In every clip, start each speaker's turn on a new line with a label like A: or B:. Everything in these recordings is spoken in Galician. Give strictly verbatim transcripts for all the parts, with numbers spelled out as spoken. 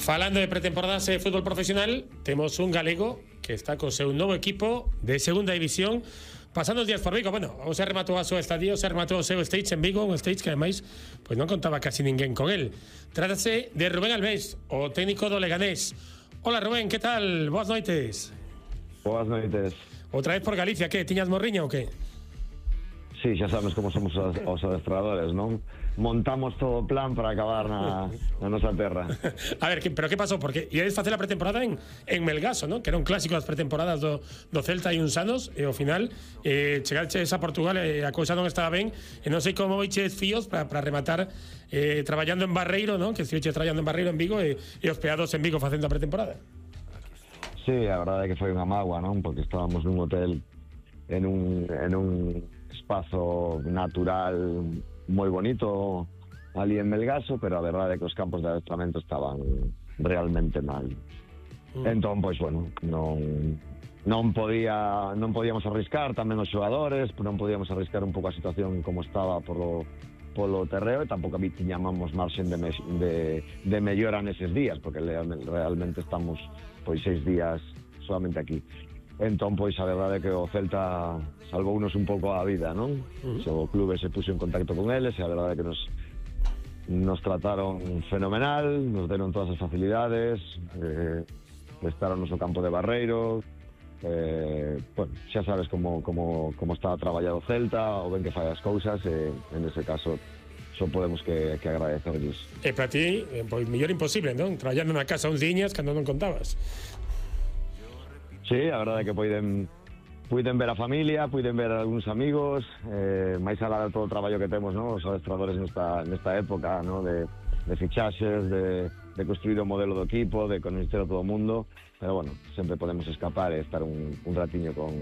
A: Falando de pretemporadas de fútbol profesional, temos un galego que está co seu novo equipo de segunda división pasando os días por Vigo. Bueno, o se rematou a súa estadía, o se rematou o seu stage en Vigo, un stage que ademais pois non contaba casi ninguén con el. Trátase de Rubén Albés, o técnico do Leganés. Hola Rubén, que tal? Boas noites.
B: Boas noites.
A: Outra vez por Galicia, que? Tiñas morriña ou que?
B: Sí, xa sabes como somos os, os adestradores, non? Montamos todo o plan para acabar na, na nosa terra.
A: A ver, que, pero que pasou? Porque iades facer a pretemporada en, en Melgaso, non? Que era un clásico das pretemporadas do, do Celta e uns anos, e ao final eh, chegaches a Portugal e a cousa non estaba ben, e non sei como iches fíos para rematar eh, traballando en Barreiro, non? Que estiveches traballando en Barreiro en Vigo e, e hospeados en Vigo facendo a pretemporada.
B: Sí, a verdade é que foi unha mágoa, non? Porque estábamos nun hotel en un, en un espazo natural moi bonito ali en Melgaso, pero a verdade é que os campos de adestramento estaban realmente mal. Mm. Entón, pois, bueno, non non podía non podíamos arriscar tamén os xogadores, non podíamos arriscar un pouco a situación como estaba polo polo terreo, e tampouco tiñamos marxen de, me, de, de mellora neses días, porque realmente estamos pois seis días solamente aquí. Entón, pois, a verdade é que o Celta salvounos un pouco a vida, non? Uh-huh. O clube se puxo en contacto con eles e a verdade é que nos nos trataron fenomenal, nos deron todas as facilidades, eh, prestaron o campo de Barreiro, eh, bueno, xa sabes como, como, como está traballado o Celta, o ben que fai as cousas, e en ese caso só podemos que, que agradecerles.
A: E para ti, pois, mellor imposible, non? Traballando na casa uns diñas cando non contabas.
B: Sí, a verdade é que poiden puiden ver a familia, puiden ver algúns amigos, eh, máis alá de todo o traballo que temos, ¿no? Os adestradores nesta, nesta época, ¿no? de, de fichaxes, de, de construir o modelo do equipo, de conocer a todo o mundo, pero bueno, sempre podemos escapar e estar un, un ratiño con,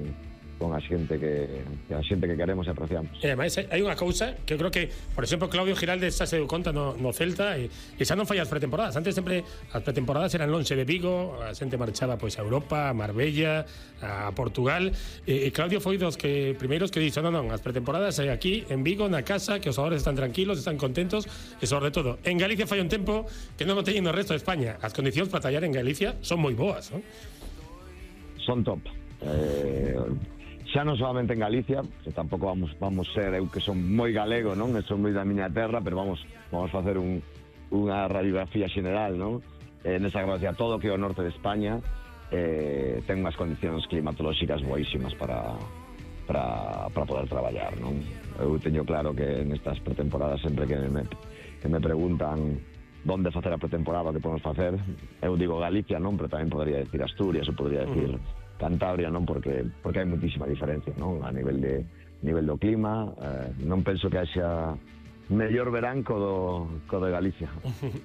B: con a xente que, que a xente que queremos e apreciamos.
A: E ademais hai unha cousa que eu creo que, por exemplo, Claudio Giraldes xa se deu conta no, no Celta e, e xa non fai as pretemporadas. Antes sempre as pretemporadas eran lonxe de Vigo, a xente marchaba pois a Europa, a Marbella, a Portugal, e, e Claudio foi dos que primeiros que dixo, non, non, as pretemporadas é aquí en Vigo, na casa, que os xogadores están tranquilos, están contentos, e sobre todo, en Galicia fai un tempo que non o teñen no resto de España. As condicións para tallar en Galicia son moi boas, non?
B: Son top. Eh... xa non solamente en Galicia, que tampouco vamos vamos ser, eu que son moi galego, non? Eu son moi da miña terra, pero vamos vamos facer un, unha radiografía xeneral, non? Eh, nesa gracia, todo que é o norte de España eh, ten unhas condicións climatolóxicas boísimas para, para, para poder traballar, non? Eu teño claro que nestas pretemporadas sempre que me, que me preguntan onde facer a pretemporada, que podemos facer, eu digo Galicia, non? Pero tamén podría decir Asturias, ou podría decir Cantabria, non? Porque porque hai muitísima diferencia, non? A nivel de nivel do clima, eh, non penso que haxa mellor verán co do, co de Galicia.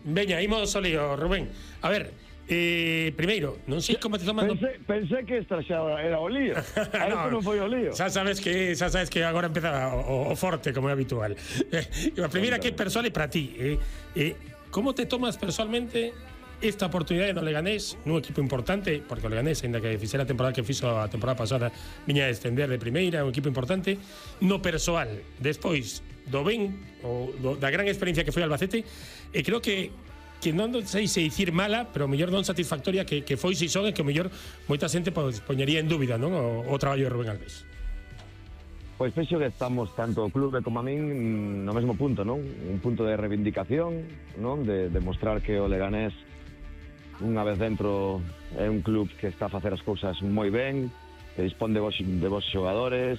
A: Veña, imos ao lío, Rubén. A ver, eh, primeiro, non sei como te tomas...
B: Pensé, pensé que esta xa era o lío. A no, non foi o lío.
A: Xa sabes que xa sabes que agora empeza o, o forte, como é habitual. Eh, a primeira que é persoal é para ti. Eh, eh, como te tomas personalmente esta oportunidade no Leganés, nun equipo importante, porque o Leganés, ainda que fixera a temporada que fixo a temporada pasada, viña a descender de primeira, un equipo importante, no persoal, despois do ben, ou do, da gran experiencia que foi Albacete, e creo que que non sei se dicir mala, pero mellor non satisfactoria que, que foi si son, e que mellor moita xente pues, poñería en dúbida, non, o, o traballo de Rubén Albés.
B: Pois penso que estamos tanto o clube como a min no mesmo punto, non? Un punto de reivindicación, non? De demostrar que o Leganés unha vez dentro é un club que está a facer as cousas moi ben, que dispón de vos, de vos xogadores,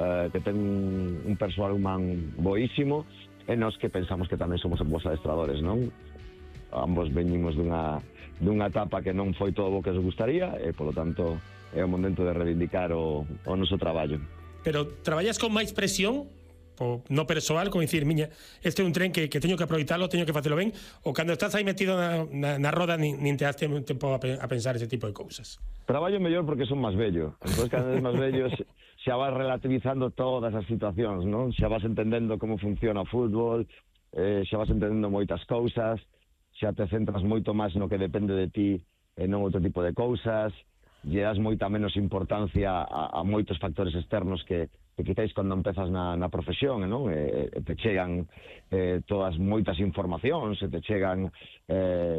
B: eh, que ten un, un persoal humán boísimo, e nós que pensamos que tamén somos vos adestradores, non? Ambos veñimos dunha, dunha etapa que non foi todo o que nos gustaría, e polo tanto é o momento de reivindicar o, o noso traballo.
A: Pero traballas con máis presión? O no persoal, como dicir, miña, este é un tren que, que teño que aproveitarlo, teño que facelo ben, ou cando estás aí metido na, na, na roda nin, nin te das tempo a, a pensar ese tipo de cousas?
B: Traballo mellor porque son máis vello, entón cada vez máis vello xa vas relativizando todas as situacións, non? Xa vas entendendo como funciona o fútbol, eh, xa vas entendendo moitas cousas, xa te centras moito máis no que depende de ti e non outro tipo de cousas, lle das moita menos importancia a, a moitos factores externos que que quizáis cando empezas na, na profesión, non? E, e te chegan eh, todas moitas informacións, e te chegan eh,